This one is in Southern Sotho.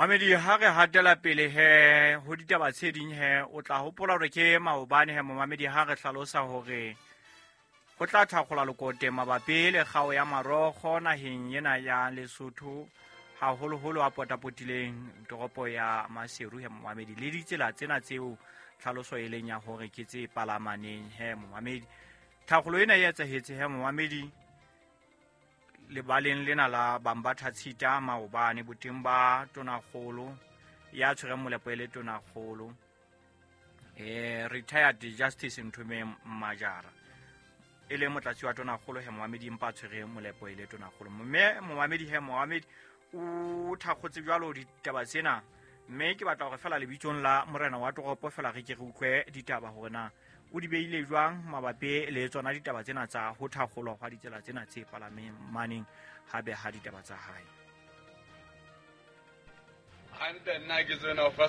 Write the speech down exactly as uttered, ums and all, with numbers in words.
Mamedi, ha re hatela pele he ho ditaba tse ding he, o tla hopola hore ke maobane he momamedi ha re hlalosa hore ho tla thakgola lekote mabapi le kgao ya marokgo naheng ena ya Lesotho, haholoholo a potapotileng toropo ya Maseru he momamedi, le ditsela tsena tseo tlhaloso e leng ya hore ke tse palamaneng he momamedi. Thakgolo ena e etsahetse he momamedi lebaleng lena la Bambatha Tshita maobane, boteng ba tonakgolo ya tshwereng molepo e le tonakgolo eh retired Justice Nthomeng Majara, e le motlatsi wa tonakgolo he momamedi, empa a tshwere molepo e le tonakgolo. Mme momamedi he momamedi o thakgotse jwalo ditaba tsena, mme ke batla hore fela lebitsong la morena wa toropo fela re ke re utlwe ditaba hore na o di beile jwang mabapi le tsona ditaba tsena tsa ho thakgolwa hwa ditsela tsena tse palameng maneng ha beha ditaba tsa hae. Hantle, nna ke tsena ho fa.